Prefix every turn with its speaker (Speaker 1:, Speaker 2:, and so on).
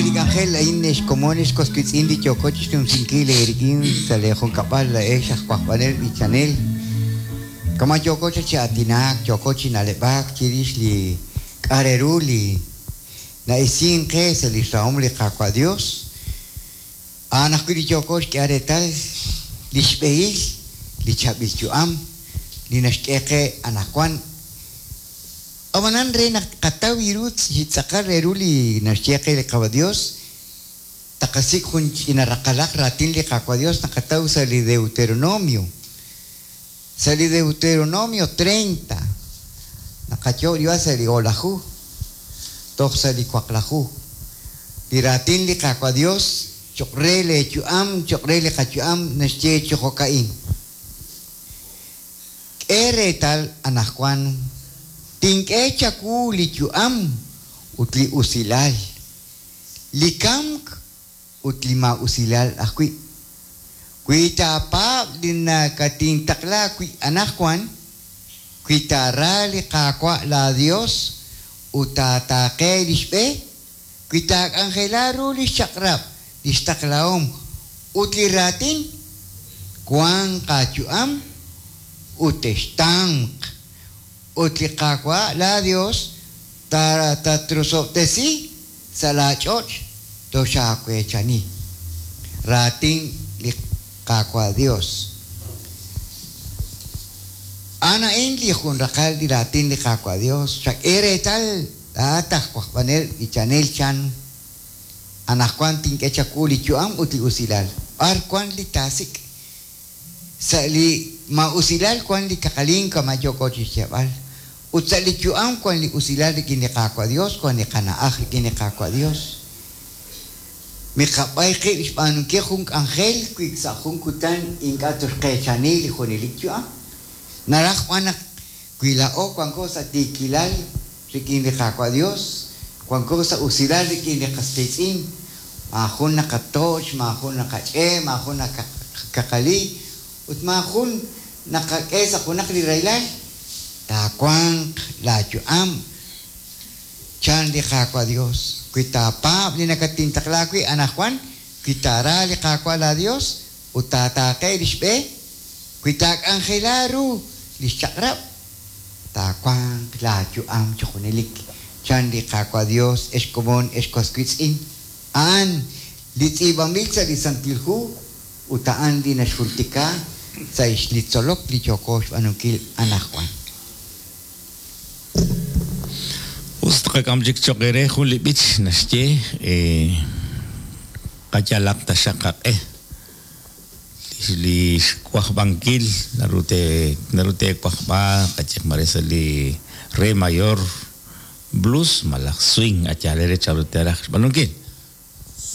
Speaker 1: Sa' li k'anjel a'in ex komon ex was wiitz'in li yooko chixnumsinkil eerik'in sa' lee junkab'al laa'ex aj wajb'anel b'ichanel, kama' yooko chaq chi aatinak, yooko chi na'leb'ak chirix li k'a' re ru li na'isink qe sa' lix rahom li Qaawa' Dios, a'an ajwi' li yooko xk'ehal reetal lix b'ehil li chaab'il yu'am li naxk'e qe anajwan. Ab'anan re naq tqataw ru chi tz'aqal re ru li naxye qe li Qaawa' Dios, taqasik' jun ch'ina raqalaq raatin li Qaawa' Dios naqataw sa' li Deuteronomio. Sa' li Deuteronomio 30, naqayo' riwa sa' li o'laju toj sa' li waqlaju. Li raatin li Qaawa' Dios choq' re lee yu'am, choq' re li qayu'am naxye chi jo'ka'in. K'e reetal anaqwan, tink'e chawu li yu'am ut li usilal, li kamk ut li maa'usilal ajwi'. Wi taapaab' li nakatintaqla wi' anaqwan, wi taara li Qaawa' laaYos ut taataaqe li xb'e, wi taak'anjela ru li xchaq'rab', li xtaqlahom ut li raatin, wanq aayu'am ut textamq, ut li Qaawa' laaYos tatrosob'tesi sa' laach'och' toxaaweechani. Raatin li Qaawa' Yos. A'an a'in li jun raqal li raatin li Qaawa' Yos, Chak'e reetal laa'at aj wajb'anel b'ichanel chan, Anaqwan tink'e chawu li yu'am ut li usilal. B'ar wank li taasik'? Sa' li maa'usilal wank li kaqalink kama' yooko chi xyeeb'al. Ut sa' li yu'am wank li usilal rik'in li Qaawa' Yos, wank li qana'aj rik'in li Qaawa' Yos. Miqab'ay qib' xb'aanunkil jun k'anjel wi sa' jun kutan ink'a' toxqeechani li junelik yu'am. Naraj b'an naq wi laa'o wanko sa' tiikilal rik'in li Qaawa' Dios, wanko sa' usilal rik'in li qas qiitz'in, maajun naqatoch', maajun naqach'e', maajun naqakaqali, ut maajun naqak'e sa' junaq li rahilal, taawanq laa yu'am, chan li Qaawa' Dios, wi taapaab' li nakatintaqla wi' anajwan, wi taara li Qaawa' laa Dios, ut taataaqe lix b'e, wi taak'anjela ru lix chaq'rab', taawanq laa yu'am chi junelik, chan li Qaawa' Dios, ex komon, ex was wiitz'in. A'an li tz'iib'anb'il sa' li Santil Hu ut a'an li naxjultika sa' li tzolok li yooko xb'aanunkil anajwan.
Speaker 2: Us tqak'am chik cho'q eere jun li b'ich naxye, Qayalaq taxaq qaq'e. Li xwajb'ankil naru te naru teewajb'a qayehaq mare sa' li re mayor, blues malaj swing a yaal eere chanru teeraj xb'aanunkil.